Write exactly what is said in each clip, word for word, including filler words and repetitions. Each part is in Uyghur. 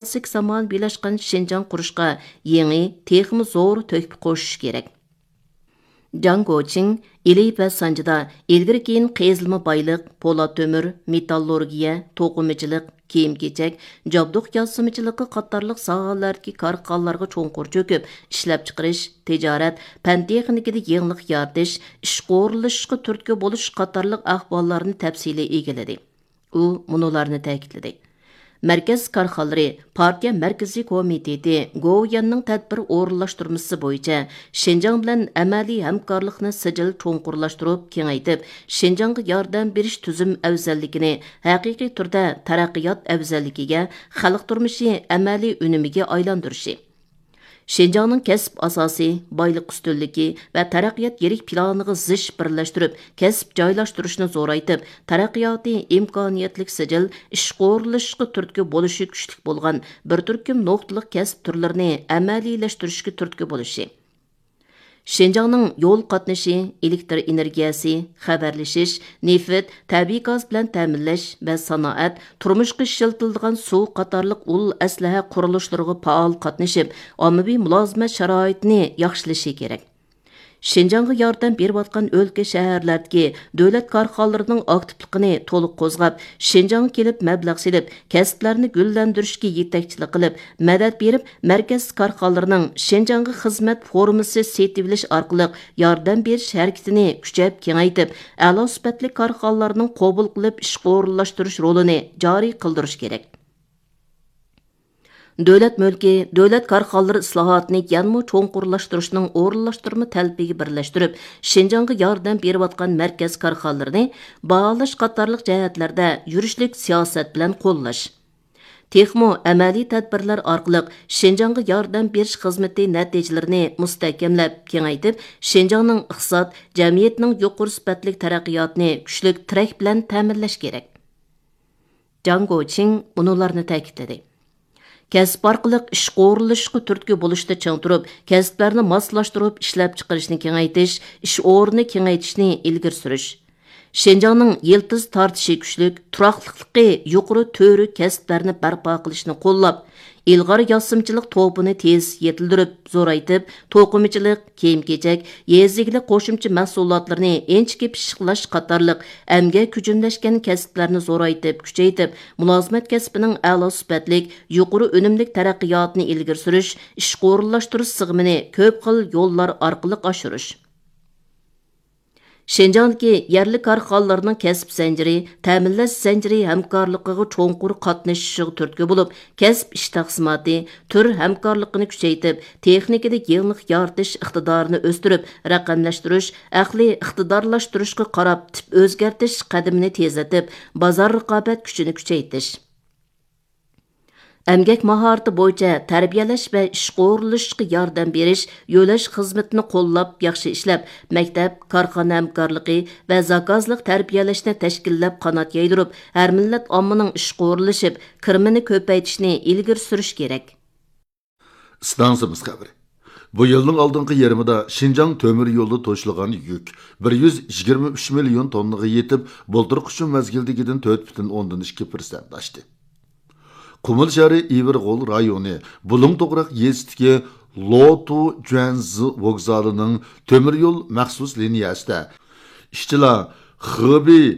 كىلاسسىك زامانىۋىلاشقان شىنجاڭ قۇرۇشقا يېڭى، تېخىمۇ زور تۆھپە قوشۇش كېرەك. جاڭ گوچىڭ ئىلى ۋە سانجىدا ئىلگىرى كېيىن قېزىلما بايلىق، پولات تۆمۈر، مېتاللورگىيە، توقۇمىچىلىق، كىيىم-كېچەك، جابدۇق ياسىمىچىلىقى قاتارلىق ساھەلەردىكى كارخانىلارغا چوڭقۇر چۆكۈپ، ئىشلەپچىقىرىش، تىجارەت، پەن-تېخنىكىدا يېڭىلىق يارىتىش، ئىشقا ئورۇنلىشىشقا تۈرتكە بولۇش قاتارلىق ئەھۋاللارنى تەپسىلىي ئىگىلىدى. ئۇ مۇنۇلارنى تەكىتلىدى: مەركەز كارخانىلىرى پارتىيە مەركىزىي كومىتېتى گوۋۇيۈەننىڭ تەدبىر ئورۇنلاشتۇرمىسى بويىچە شىنجاڭ بىلەن ئەمەلىي ھەمكارلىقنى سىجىل چوڭقۇرلاشتۇرۇپ كېڭەيتىپ، شىنجاڭغا ياردەم بېرىش تۈزۈم ئەۋزەللىكىنى ھەقىقىي تۈردە تەرەققىيات ئەۋزەللىكىگە، خەلق تۇرمۇشى ئەمەلىي ئۈنۈمىگە ئايلاندۇرۇشى، شىنجاڭنىڭ كەسىپ ئاساسى، بايلىق ئۈستۈنلۈكى ۋە تەرەققىيات يىرىك پىلانىغا زىچ بىرلەشتۈرۈپ، كەسىپ جايلاشتۇرۇشنى زورايتىپ، تەرەققىياتى ئىمكانىيەتلىك سىجىل، ئىشقا ئورۇنلىشىشقا تۈرتكە بولۇشى كۈچلۈك بولغان بىر تۈركۈم نۇقتىلىق كەسىپ تۈرلىرىنى ئەمەلىيلەشتۈرۈشكە تۈرتكە بولۇشى. شىنجاڭنىڭ يول قاتنىشى، ئېلېكتر ئېنېرگىيەسى، خەۋەرلىشىش، نېفىت، تەبىئىي گاز بىلەن تەمىنلەش ۋە سانائەت، تۇرمۇشقا ئىشلىتىلىدىغان سۇ قاتارلىق ئۇل ئەسلىھە قۇرۇلۇشلىرىغا پائال قاتنىشىپ، ئاممىۋى مۇلازىمەت شارائىتىنى ياخشىلىشى كېرەك. شىنجاڭغا ياردەم بېرىۋاتقان ئۆلكە، شەھەرلەردىكى دۆلەت كارخانىلىرىنىڭ ئاكتىپلىقىنى تولۇق قوزغاپ، شىنجاڭغا كېلىپ مەبلەغ سېلىپ، كەسىپلەرنى گۈللەندۈرۈشكە يېتەكچىلىك قىلىپ، مەدەت بېرىپ، مەركەز كارخانىلىرىنىڭ شىنجاڭغا خىزمەت فورمىسى سېتىۋېلىش ئارقىلىق ياردەم بېرىش ھەرىكىتىنى كۈچەپ كېڭەيتىپ، ئەلا سۈپەتلىك كارخانىلارنىڭ قوبۇل قىلىپ ئىشقا ئورۇنلاشتۇرۇش رولىنى جارى قىلدۇرۇش كېرەك. دۆلەت مۈلكى، دۆلەت كارخانىلىرى ئىسلاھاتىنى يەنىمۇ چوڭقۇرلاشتۇرۇشنىڭ ئورۇنلاشتۇرما تەلىپىگە بىرلەشتۈرۈپ، شىنجاڭغا ياردەم بېرىۋاتقان مەركەز كارخانىلىرىنى باھالاش قاتارلىق جەھەتلەردە يۈرۈشلۈك سىياسەت بىلەن قوللاش. تېخىمۇ ئەمەلىي تەدبىرلەر ئارقىلىق شىنجاڭغا ياردەم بېرىش خىزمىتى نەتىجىلىرىنى مۇستەھكەملەپ، كېڭەيتىپ، شىنجاڭنىڭ ئىقتىساد، جەمئىيەتنىڭ يۇقىرى سۈپەتلىك تەرەققىياتىنى كۈچلۈك تىرەك بىلەن تەمىنلەش كېرەك. جاڭ گوچىڭ مۇنۇلارنى تەكىتلىدى: كەسىپ ئارقىلىق ئىشقا ئورۇنلىشىشقا تۈرتكە بولۇشتا چىڭ تۇرۇپ، كەسىپلەرنى ماسلاشتۇرۇپ ئىشلەپچىقىرىشنى كېڭەيتىش، ئىش ئورنىنى كېڭەيتىشنى ئىلگىرى سۈرۈش. شىنجاڭنىڭ يىلتىز تارتىشى كۈچلۈك، تۇراقلىقلىقى يۇقىرى تۈۋرۈك كەسىپلەرنى بەرپا قىلىشنى قوللاپ، ئىلغار ياسىمىچىلىق توپىنى تېز يېتىلدۈرۈپ، زورايتىپ، توقۇمىچىلىق، كىيىم-كېچەك، يېزا ئىگىلىك قوشۇمچە مەھسۇلاتلىرىنى ئىنچىكە پىششىقلاش قاتارلىق ئەمگەك ھۈجۈملەشكەن كەسىپلەرنى زورايتىپ، كۈچەيتىپ، مۇلازىمەت كەسپىنىڭ ئەلا سۈپەتلىك، يۇقىرى ئۈنۈملۈك تەرەققىياتىنى ئىلگىرى سۈرۈش، ئىشقا ئورۇنلاشتۇرۇش سىغىمىنى كۆپ خىل يوللار ئارقىلىق ئاشۇرۇش. شىنجاڭدىكى يەرلىك كارخانىلارنىڭ كەسىپ زەنجىرى، تەمىنلەش زەنجىرى ھەمكارلىقىغا چوڭقۇر قاتنىشىشىغا تۈرتكە بولۇپ، كەسىپ ئىش تەقسىماتى، تۈر ھەمكارلىقىنى كۈچەيتىپ، تېخنىكىدا يېڭىلىق يارىتىش ئىقتىدارىنى ئۆستۈرۈپ، رەقەملەشتۈرۈش، ئەقلىي ئىقتىدارلاشتۇرۇشقا قاراپ تىپ ئۆزگەرتىش قەدىمىنى تېزلىتىپ، بازار رىقابەت كۈچىنى كۈچەيتىش. ئەمگەك ماھارىتى بويىچە تەربىيەلەش ۋە ئىشقا ئورۇنلىشىشقا ياردەم بېرىش، يۆلەش خىزمىتىنى قوللاپ ياخشى ئىشلەپ، مەكتەپ، كارخانا ھەمكارلىقى ۋە زاكازلىق تەربىيەلەشنى تەشكىللەپ قانات يايدۇرۇپ، ھەر مىللەت ئاممىنىڭ ئىشقا ئورۇنلىشىپ، كىرىمىنى كۆپەيتىشنى ئىلگىرى سۈرۈش كېرەك. ئىستانسىمىز خەۋىرى. بۇ يىلنىڭ ئالدىنقى يېرىمىدا شىنجاڭ تۆمۈر يولىدا توشۇلغان يۈك بىر يۈز يىگىرمە ئۈچ مىليون توننىغا يېتىپ، بۇلتۇرقى شۇ مەزگىلدىكىدىن تۆت پۈتۈن ئوندىن ئىككى پىرسەنت ئاشتى. قۇمۇل شەھىرى ئىۋىرغول رايونى بۇلۇڭ توغراق يېزىسىدىكى لوتۇ جۈەنزى ۋوگزالىنىڭ تۆمۈر يول مەخسۇس لىنىيەسىدە ئىشچىلار خېبېي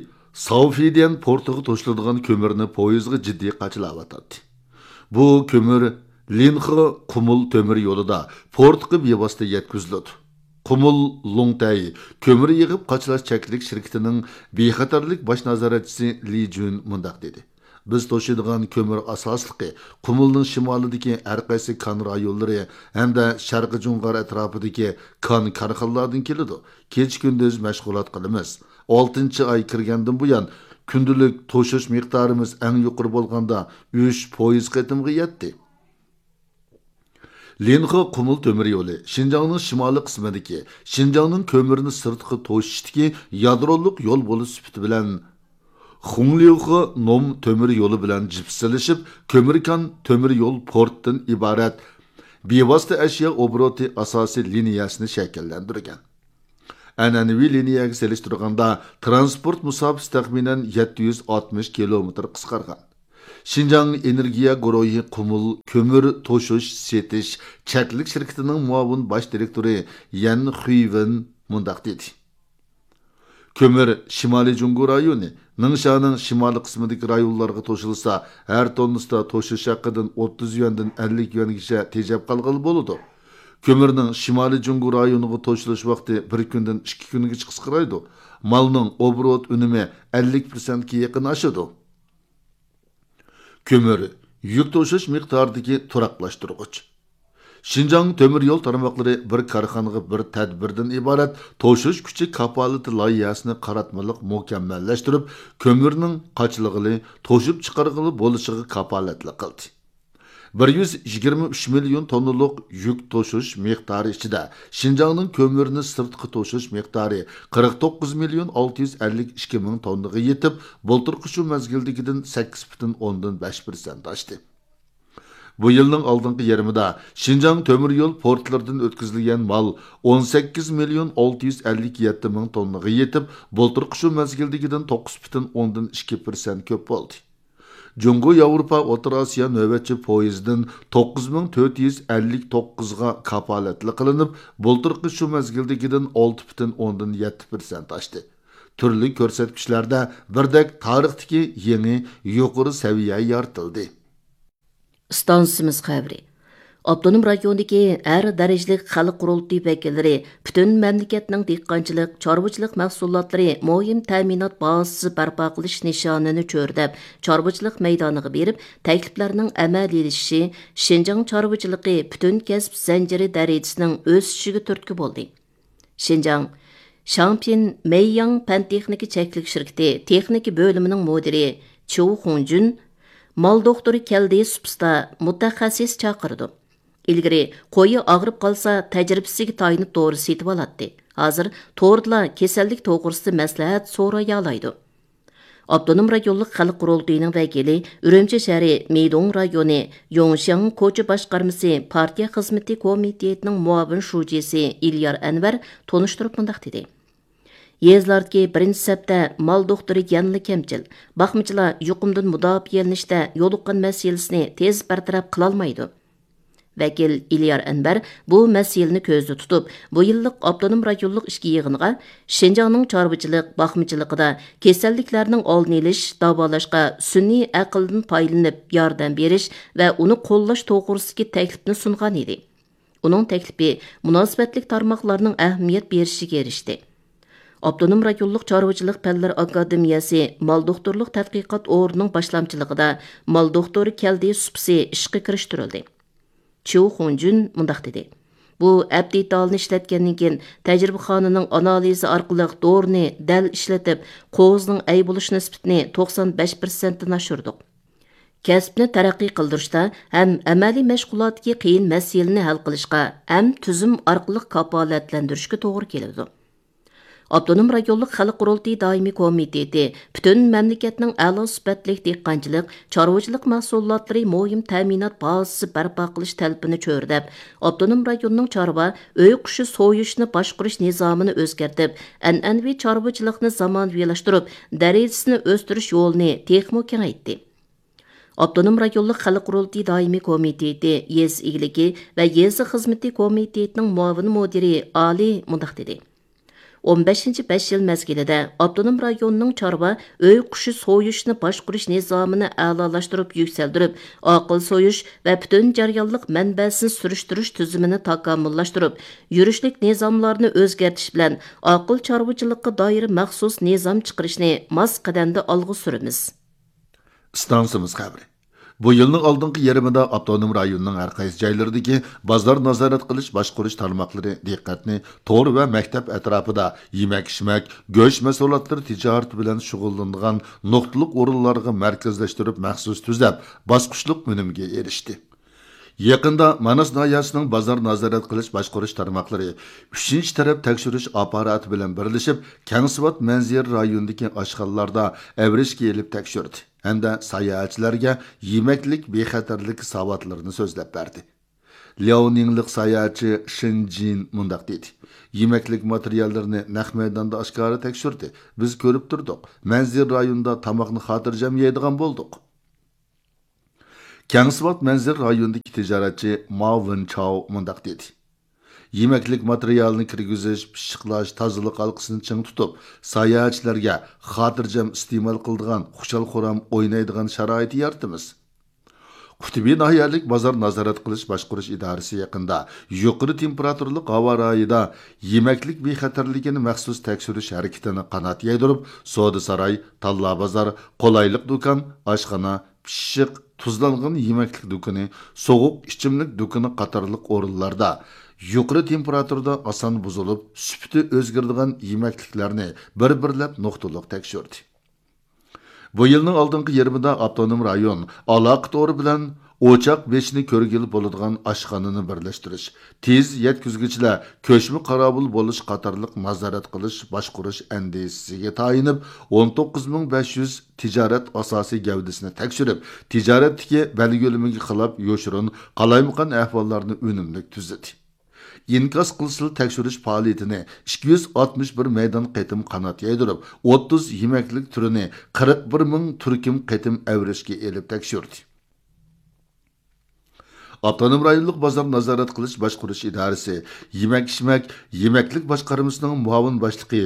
ساۋفىديەن پورتىغا توشۇلىدىغان كۆمۈرنى پويىزغا جىددىي قاچىلاۋاتاتتى. بۇ كۆمۈر لىنخې قۇمۇل تۆمۈر يولىدا پورتقا بىۋاسىتە يەتكۈزۈلىدۇ. قۇمۇل لوڭتەي كۆمۈر يىغىپ قاچىلاش چەكلىك شىركىتىنىڭ بىخەتەرلىك باش نازارەتچىسى لى جۈن مۇنداق دېدى: بىز توشۇيدىغان كۆمۈر ئاساسلىقى قۇمۇلنىڭ شىمالىدىكى ھەر قايسى كان رايونلىرى ھەمدە شەرقىي جۇڭغار ئەتراپىدىكى كان كارخانىلاردىن كېلىدۇ. كېچە-كۈندۈز مەشغۇلات قىلىمىز. ئالتىنچى ئاي كىرگەندىن بۇيان، كۈندىلىك توشۇش مىقدارىمىز ئەڭ يۇقىرى بولغاندا ئۈچ پويىز قېتىمغا يەتتى. لىنخې قۇمۇل تۆمۈر يولى شىنجاڭنىڭ شىمالىي قىسمىدىكى، شىنجاڭنىڭ كۆمۈرنى سىرتقا توشۇشتىكى يادرولۇق يول بولۇش سۈپىتى بىلەن، خۇڭليۇخې نوم تۆمۈر يولى بىلەن جىپسىلىشىپ، كۆمۈركان تۆمۈر يول پورتتىن ئىبارەت بىۋاسىتە ئەشيا ئوبوروتى ئاساسىي لىنىيەسىنى شەكىللەندۈرگەن. ئەنئەنىۋى لىنىيەگە سېلىشتۇرغاندا، تىرانسپورت مۇساپىسى تەخمىنەن يەتتە يۈز ئاتمىش كىلومېتىر قىسقارغان. شىنجاڭ ئېنېرگىيە گۇرۇھى قۇمۇل كۆمۈر توشۇش سېتىش چەكلىك شىركىتىنىڭ مۇئاۋىن باش دىرېكتورى يەن خۈيۋېن مۇنداق دېدى: كۆمۈر شىمالىي جۇڭگو رايونى، نىڭشانىڭ شىمالىي قىسمىدىكى رايونلارغا توشۇلسا، ھەر توننىسىدا توشۇش ھەققىدىن ئوتتۇز يۈەندىن ئەللىك يۈەنگىچە تېجەپ قالغىلى بولىدۇ. كۆمۈرنىڭ شىمالىي جۇڭگو رايونىغا توشۇلۇش ۋاقتى بىر كۈندىن ئىككى كۈنگىچە قىسقىرايدۇ. مالنىڭ ئوبوروت ئۈنۈمى ئەللىك پىرسەنتكە يېقىن ئاشىدۇ. كۆمۈر، يۈك توشۇش مىقدارىدىكى تۇراقلاشتۇرغۇچ. شىنجاڭ تۆمۈر يول تارماقلىرى بىر كارخانىغا بىر تەدبىردىن ئىبارەت توشۇش كۈچى كاپالىتى لايىھەسىنى قاراتمىلىق مۇكەممەللەشتۈرۈپ، كۆمۈرنىڭ قاچىلىغىلى، توشۇپ چىقارغىلى بولۇشىغا كاپالەتلىك قىلدى. بىر يۈز يىگىرمە ئۈچ مىليون توننىلىق يۈك توشۇش مىقدارى ئىچىدە، شىنجاڭنىڭ كۆمۈرنى سىرتقا توشۇش مىقدارى قىرىق توققۇز مىليون ئالتە يۈز ئەللىك ئىككى مىڭ توننىغا يېتىپ، بۇلتۇرقى شۇ مەزگىلدىكىدىن سەككىز پۈتۈن ئوندىن بەش پىرسەنت ئاشتى. بۇ يىلنىڭ ئالدىنقى يېرىمىدا شىنجاڭ تۆمۈر يول پورتلىرىدىن ئۆتكۈزۈلگەن مال ئون سەككىز مىليون ئالتە يۈز ئەللىك يەتتە مىڭ توننىغا يېتىپ، بۇلتۇرقى شۇ مەزگىلدىكىدىن توققۇز پۈتۈن ئوندىن ئىككى پىرسەنت كۆپ بولدى. جۇڭگو ياۋروپا ئوتتۇرا ئاسىيا نۆۋەتچى پويىزىدىن توققۇز مىڭ تۆت يۈز ئەللىك توققۇزغا كاپالەتلىك قىلىنىپ، بۇلتۇرقى شۇ مەزگىلدىكىدىن ئالتە پۈتۈن ئوندىن يەتتە پىرسەنت ئاشتى. تۈرلۈك كۆرسەتكۈچلەردە بىردەك تارىختىكى يېڭى يۇقىرى سەۋىيە يارىتىلدى. ئىستانسىمىز خەۋىرى. ئاپتونوم رايوندىكى ھەر دەرىجىلىك خەلق قۇرۇلتىيى ۋەكىللىرى پۈتۈن مەملىكەتنىڭ دېھقانچىلىق، چارۋىچىلىق مەھسۇلاتلىرى مۇھىم تەمىنات بازىسى بەرپا قىلىش نىشانىنى چۆرىدەپ، چارۋىچىلىق مەيدانىغا بېرىپ، تەكلىپلەرنىڭ ئەمەلىيلىشىشى، شىنجاڭ چارۋىچىلىقى پۈتۈن كەسىپ زەنجىرى دەرىجىسىنىڭ ئۆسۈشىگە تۈرتكە بولدى. شىنجاڭ شاڭپىن مەيياڭ پەن تېخنىكا چەكلىك شىركىتى تېخنىكا بۆلۈمىنىڭ مۇدىرى چيۇ خۇڭجۈن مال دوختۇرى كەلدى سۇپىسىدا مۇتەخەسسىس چاقىرىدۇ. ئىلگىرى قويى ئاغرىپ قالسا، تەجرىبىسىگە تايىنىپ دورا سېتىۋالاتتى. ھازىر توردىلا كېسەللىك توغرىسىدا مەسلىھەت سورايالايدۇ. ئاپتونوم رايونلۇق خەلق قۇرۇلتىيىنىڭ ۋەكىلى، ئۈرۈمچى شەھىرى مىدوڭ رايونى يوڭشياڭ كوچا باشقارمىسى پارتىيە خىزمىتى كومىتېتىنىڭ مۇئاۋىن شۇجىسى ئىليار ئەنۋەر تونۇشتۇرۇپ مۇنداق دېدى: يېزىلاردىكى بىرىنچى سەپتە مال دوختۇرى يەنىلا كەمچىل، باقمىچىلار يۇقۇمدىن مۇداپىئەلىنىشتە يولۇققان مەسىلىسىنى تېز بىر تەرەپ قىلالمايدۇ. ۋەكىل ئىليار ئەنۋەر بۇ مەسىلىنى كۆزدە تۇتۇپ، بۇ يىللىق ئاپتونوم رايونلۇق ئىچكى يىغىنغا شىنجاڭنىڭ چارۋىچىلىق، باقمىچىلىقىدا كېسەللىكلەرنىڭ ئالدىنى ئېلىش، داۋالاشقا سۈنئىي ئەقىلدىن پايدىلىنىپ ياردەم بېرىش ۋە ئۇنى قوللاش توغرىسىدىكى تەكلىپنى سۇنغان ئىدى. ئۇنىڭ تەكلىپى مۇناسىۋەتلىك تارماقلارنىڭ ئەھمىيەت بېرىشىگە ئېرىشتى. ئاپتونوم رايونلۇق چارۋىچىلىق پەنلىرى ئاكادېمىيەسى مال دوختۇرلۇق تەتقىقات ئورنىنىڭ باشلامچىلىقىدا مال دوختۇرى كەلدى سۇپىسى ئىشقا كىرىشتۈرۈلدى. چيۇ خۇڭجۈن مۇنداق دېدى: بۇ ئەپ دېتالىنى ئىشلەتكەندىن كېيىن، تەجرىبىخانىنىڭ ئانالىزى ئارقىلىق دورىنى دەل ئىشلىتىپ، قوزىنىڭ ئەي بولۇش نىسبىتىنى توقسان بەش پىرسەنتتىن ئاشۇردۇق. كەسىپنى تەرەققىي قىلدۇرۇشتا ھەم ئەمەلىي مەشغۇلاتتىكى قىيىن مەسىلىنى ھەل قىلىشقا ھەم تۈزۈم ئارقىلىق كاپالەتلەندۈرۈشكە توغرا كېلىدۇ. ئاپتونوم رايونلۇق خەلق قۇرۇلتىيى دائىمىي كومىتېتى پۈتۈن مەملىكەتنىڭ ئەلا سۈپەتلىك دېھقانچىلىق، چارۋىچىلىق مەھسۇلاتلىرى مۇھىم تەمىنات بازىسى بەرپا قىلىش تەلىپىنى چۆرىدەپ، ئاپتونوم رايوننىڭ چارۋا ئۆي قۇشى سويۇشنى باشقۇرۇش نىزامىنى ئۆزگەرتىپ، ئەنئەنىۋى چارۋىچىلىقنى زامانىۋىلاشتۇرۇپ، دەرىجىسىنى ئۆستۈرۈش يولىنى تېخىمۇ كېڭەيتتى. ئاپتونوم رايونلۇق خەلق قۇرۇلتىيى دائىمىي كومىتېتى يېزا ئىگىلىكى ۋە يېزا خىزمىتى كومىتېتىنىڭ مۇئاۋىن مۇدىرى ئالى مۇنداق دېدى: ئون بەشىنچى بەش يىل مەزگىلىدە ئاپتونوم رايوننىڭ چارۋا ئۆي قۇشى سويۇشنى باشقۇرۇش نىزامىنى ئەلالاشتۇرۇپ يۈكسەلدۈرۈپ، ئاقىل سويۇش ۋە پۈتۈن جەريانلىق مەنبەسىنى سۈرۈشتۈرۈش تۈزۈمىنى تاكامۇللاشتۇرۇپ، يۈرۈشلۈك نىزاملارنى ئۆزگەرتىش بىلەن ئاقىل چارۋىچىلىققا دائىر مەخسۇس نىزام چىقىرىشنى ماس قەدەمدە ئالغا سۈرىمىز. ئىستانسىمىز خەۋىرى. بۇ يىلنىڭ ئالدىنقى يېرىمىدا ئاپتونوم رايوننىڭ ھەر قايسى جايلىرىدىكى بازار نازارەت قىلىش باشقۇرۇش تارماقلىرى دىققەتنى تور ۋە مەكتەپ ئەتراپىدا يېمەك-ئىچمەك، گۆش مەھسۇلاتلىرى تىجارىتى بىلەن شۇغۇللىنىدىغان نۇقتىلىق ئورۇنلارغا مەركەزلەشتۈرۈپ مەخسۇس تۈزەپ، باسقۇچلۇق ئۈنۈمگە ئېرىشتى. يېقىندا ماناس ناھىيەسىنىڭ بازار نازارەت قىلىش باشقۇرۇش تارماقلىرى ئۈچىنچى تەرەپ تەكشۈرۈش ئاپپاراتى بىلەن بىرلىشىپ، كەڭسىۋات مەنزىرە رايونىدىكى ئاشخانىلاردا ئەۋرىشكە ئېلىپ تەكشۈردى ھەمدە ساياھەتچىلەرگە يېمەكلىك بىخەتەرلىكى ساۋاتلىرىنى سۆزلەپ بەردى. لياۋنىڭلىق ساياھەتچى شېن جىن مۇنداق دېدى: يېمەكلىك ماتېرىياللىرىنى نەق مەيداندا ئاشكارا تەكشۈردى. بىز كۆرۈپ تۇردۇق. مەنزىرە رايونىدا تاماقنى خاتىرجەم يەيدىغان بولدۇق. كەڭسىۋات مەنزىرە رايونىدىكى تىجارەتچى ما ۋېنچاۋ مۇنداق دېدى: يېمەكلىك ماتېرىيالىنى كىرگۈزۈش، پىششىقلاش، تازىلىق ھالقىسىنى چىڭ تۇتۇپ، ساياھەتچىلەرگە خاتىرجەم ئىستېمال قىلىدىغان، خۇشال-خۇرام ئوينايدىغان شارائىت يارىتىمىز. قۇتبى ناھىيەلىك بازار نازارەت قىلىش باشقۇرۇش ئىدارىسى يېقىندا يۇقىرى تېمپېراتۇرىلىق ھاۋا رايىدا يېمەكلىك بىخەتەرلىكىنى مەخسۇس تەكشۈرۈش ھەرىكىتىنى قانات يايدۇرۇپ، سودا ساراي، تاللا بازار، قولايلىق دۇكان، ئاشخانا، پىششىق، تۇزلانغان يېمەكلىك دۇكىنى، سوغۇق ئىچىملىك دۇكىنى قاتارلىق ئورۇنلاردا يۇقىرى تېمپېراتۇرىدا ئاسان بۇزۇلۇپ، سۈپىتى ئۆزگىرىدىغان يېمەكلىكلەرنى بىر-بىرلەپ نۇقتىلىق تەكشۈردى. بۇ يىلنىڭ ئالدىنقى يېرىمىدا ئاپتونوم رايون ئالاقە تورى بىلەن ئوچاق بېشىنى كۆرگىلى بولىدىغان ئاشخانىنى بىرلەشتۈرۈش، تېز يەتكۈزگۈچىلەر كۆچمە قاراۋۇل بولۇش قاتارلىق نازارەت قىلىش، باشقۇرۇش ئەندىزىسىگە تايىنىپ، ئون توققۇز مىڭ بەش يۈز تىجارەت ئاساسىي گەۋدىسىنى تەكشۈرۈپ، تىجارەتتىكى بەلگىلىمىگە خىلاپ يوشۇرۇن، قالايمىقان ئەھۋاللارنى ئۈنۈملۈك تۈزىدى. ئىنكاس قىلسىلا تەكشۈرۈش پائالىيىتىنى ئىككى يۈز ئاتمىش بىر مەيدان قېتىم قانات يايدۇرۇپ، ئوتتۇز يېمەكلىك تۈرىنى قىرىق بىر مىڭ تۈركۈم قېتىم ئەۋرىشكە ئېلىپ تەكشۈردى. ئاپتونوم رايونلۇق بازار نازارەت قىلىش باشقۇرۇش ئىدارىسى يېمەك-ئىچمەك، يېمەكلىك باشقارمىسىنىڭ مۇئاۋىن باشلىقى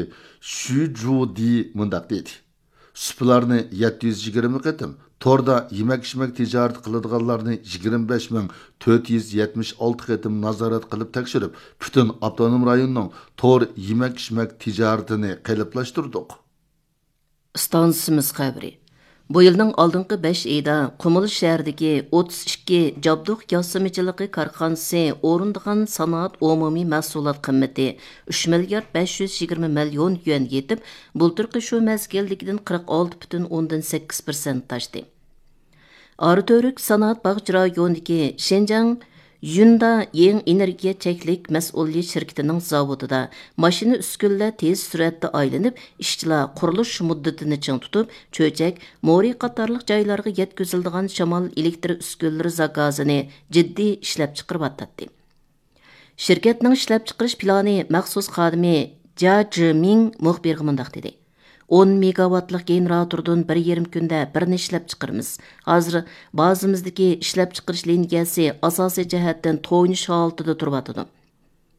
شۈ جۇدى مۇنداق دېدى: سۇپىلارنى يەتتە يۈز يىگىرمە قېتىم، توردا يېمەك-ئىچمەك تىجارىتى قىلىدىغانلارنى يىگىرمە بەش مىڭ تۆت يۈز يەتمىش ئالتە قېتىم نازارەت قىلىپ تەكشۈرۈپ، پۈتۈن ئاپتونوم رايوننىڭ تور يېمەك-ئىچمەك تىجارىتىنى قېلىپلاشتۇردۇق. ئىستانسىمىز خەۋىرى. بۇ يىلنىڭ ئالدىنقى بەش ئېيىدا قۇمۇل شەھىرىدىكى ئوتتۇز ئىككى جابدۇق ياسىمىچىلىقى كارخانىسى ئورۇندىغان سانائەت ئومۇمىي مەھسۇلات قىممىتى ئۈچ مىليارد بەش يۈز يىگىرمە مىليون يۈەنگە يېتىپ، بۇلتۇرقى شۇ مەزگىلدىكىدىن قىرىق ئالتە پۈتۈن ئوندىن سەككىز پىرسەنت ئاشتى. ئاراتۈرۈك سانائەت باغچە رايونىدىكى شىنجاڭ يۈندا يېڭى ئېنېرگىيە چەكلىك مەسئۇلىيەت شىركىتىنىڭ زاۋۇتىدا ماشىنا ئۈسكۈنىلەر تېز سۈرئەتتە ئايلىنىپ، ئىشچىلار قۇرۇلۇش مۇددىتىنى چىڭ تۇتۇپ، چۆچەك، مورى قاتارلىق جايلارغا يەتكۈزۈلىدىغان شامال ئېلېكتر ئۈسكۈنىلىرى زاكازىنى جىددىي ئىشلەپچىقىرىۋاتاتتى. شىركەتنىڭ ئىشلەپچىقىرىش پىلانى مەخسۇس خادىمى جيا جىمىڭ مۇخبىرغا مۇنداق دېدى: ئون مېگاۋاتلىق گېنېراتوردىن بىر يېرىم كۈندە بىرنى ئىشلەپچىقىرىمىز. ھازىر بازىمىزدىكى ئىشلەپچىقىرىش لىنىيەسى ئاساسىي جەھەتتىن تويۇنۇش ھالىتىدە تۇرۇۋاتىدۇ.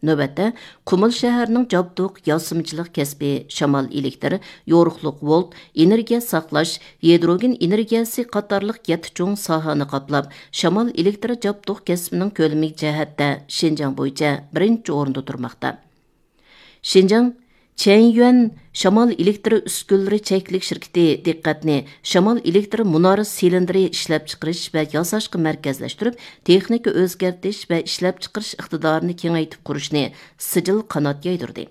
نۆۋەتتە، قۇمۇل شەھىرىنىڭ جابدۇق ياسىمىچىلىق كەسپى شامال ئېلېكتىر، يورۇقلۇق ۋولت، ئېنېرگىيە ساقلاش، ھىدروگېن ئېنېرگىيەسى قاتارلىق يەتتە چوڭ ساھەنى قاپلاپ، شامال ئېلېكتىر جابدۇق كەسپىنىڭ كۆلىمى جەھەتتە شىنجاڭ بويىچە بىرىنچى ئورۇندا تۇرماقتا. شىنجاڭ چيەنيۈەن شامال ئېلېكتر ئۈسكۈنىلىرى چەكلىك شىركىتى دىققەتنى شامال ئېلېكتر مۇنارە سىلىندىرى ئىشلەپچىقىرىش ۋە ياساشقا مەركەزلەشتۈرۈپ، تېخنىكا ئۆزگەرتىش ۋە ئىشلەپچىقىرىش ئىقتىدارىنى كېڭەيتىپ قۇرۇشنى سىجىل قانات يايدۇردى.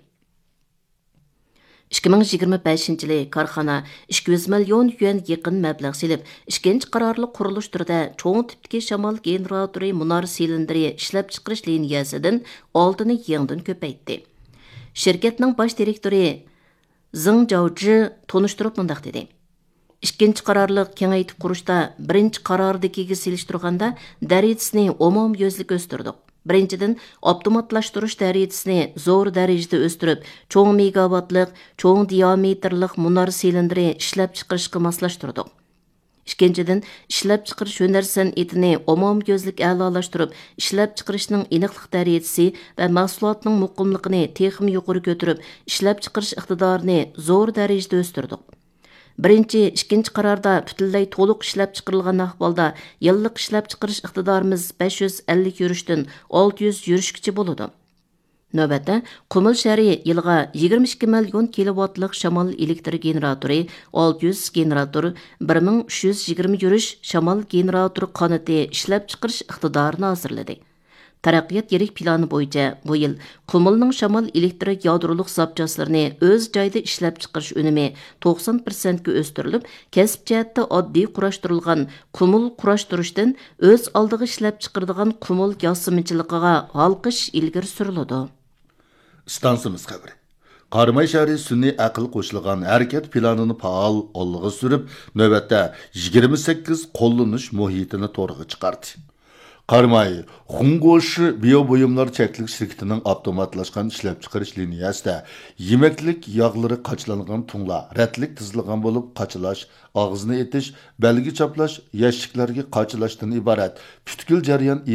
ئىككى مىڭ يىگىرمە بەشىنچى يىلى كارخانا ئىككى يۈز مىليون يۈەن يېقىن مەبلەغ سېلىپ، ئىككىنچى قارارلىق قۇرۇلۇش تۈرىدە چوڭ تىپتىكى شامال گېنېراتورى مۇنار سىلىندىرى ئىشلەپچىقىرىش لىنىيەسىدىن ئالتىنى يېڭىدىن كۆپەيتتى. شىركەتنىڭ باش دىرېكتورى زېڭ جاۋجى تونۇشتۇرۇپ مۇنداق دېدى: ئىككىنچى قارارلىق كېڭەيتىپ قۇرۇشتا بىرىنچى قارارىدىكىگە سېلىشتۇرغاندا دەرىجىسىنى ئومۇميۈزلۈك ئۆستۈردۇق. بىرىنچىدىن، ئاپتوماتلاشتۇرۇش دەرىجىسىنى زور دەرىجىدە ئۆستۈرۈپ، چوڭ مېگاۋاتلىق، چوڭ دىئامېتىرلىق مۇنار سىلىندىرى ئىشلەپچىقىرىشقا ماسلاشتۇردۇق. ئىككىنچىدىن، ئىشلەپچىقىرىش ھۈنەر سەنئىتىنى ئومۇميۈزلۈك ئەلالاشتۇرۇپ، ئىشلەپچىقىرىشنىڭ ئېنىقلىق دەرىجىسى ۋە مەھسۇلاتنىڭ مۇقىملىقىنى تېخىمۇ يۇقىرى كۆتۈرۈپ، ئىشلەپچىقىرىش ئىقتىدارىنى زور دەرىجىدە ئۆستۈردۇق. بىرىنچى، ئىككىنچى قاراردا پۈتۈنلەي تولۇق ئىشلەپچىقىرىلغان ئەھۋالدا يىللىق ئىشلەپچىقىرىش ئىقتىدارىمىز بەش يۈز ئەللىك يۈرۈشتىن ئالتە يۈز يۈرۈشكىچە بولىدۇ. نۆۋەتتە، قۇمۇل شەھىرى يىلىغا يىگىرمە ئىككى مىليون كىلوۋاتلىق شامال ئېلېكتر گېنېراتورى، ئالتە يۈز گېنېراتور، بىر مىڭ ئۈچ يۈز يىگىرمە يۈرۈش شامال گېنېراتور قانىتى ئىشلەپچىقىرىش ئىقتىدارىنى ھازىرلىدى. تەرەققىيات يىرىك پىلانى بويىچە بۇ يىل قۇمۇلنىڭ شامال ئېلېكتر يادرولۇق زاپچاسلىرىنى ئۆز جايىدا ئىشلەپچىقىرىش ئۈنۈمى توقسان پىرسەنتكە ئۆستۈرۈلۈپ، كەسىپ جەھەتتە ئاددىي قۇراشتۇرۇلغان قۇمۇل قۇراشتۇرۇشتىن ئۆز ئالدىغا ئىشلەپچىقىرىدىغان قۇمۇل ياسىمىچىلىقىغا ھالقىش ئىلگىرى سۈرۈلىدۇ. ئىستانسىمىز خەۋىرى. قاراماي شەھىرى سۈنئىي ئەقىل قوشۇلغان ھەرىكەت پىلانىنى پائال ئالغا سۈرۈپ، نۆۋەتتە يىگىرمە سەككىز قوللىنىش مۇھىتىنى تورغا چىقاردى. قاراماي خۇڭگوشى بىيو بۇيۇملار چەكلىك شىركىتىنىڭ ئاپتوماتلاشقان ئىشلەپچىقىرىش لىنىيەسىدە يېمەكلىك ياغلىرى قاچىلانغان تۇڭلار رەتلىك تىزىلغان بولۇپ، قاچىلاش، ئاغزىنى ئېتىش، بەلگە چاپلاش، يەشىكلەرگە قاچىلاشتىن ئىبارەت پۈتكۈل جەريان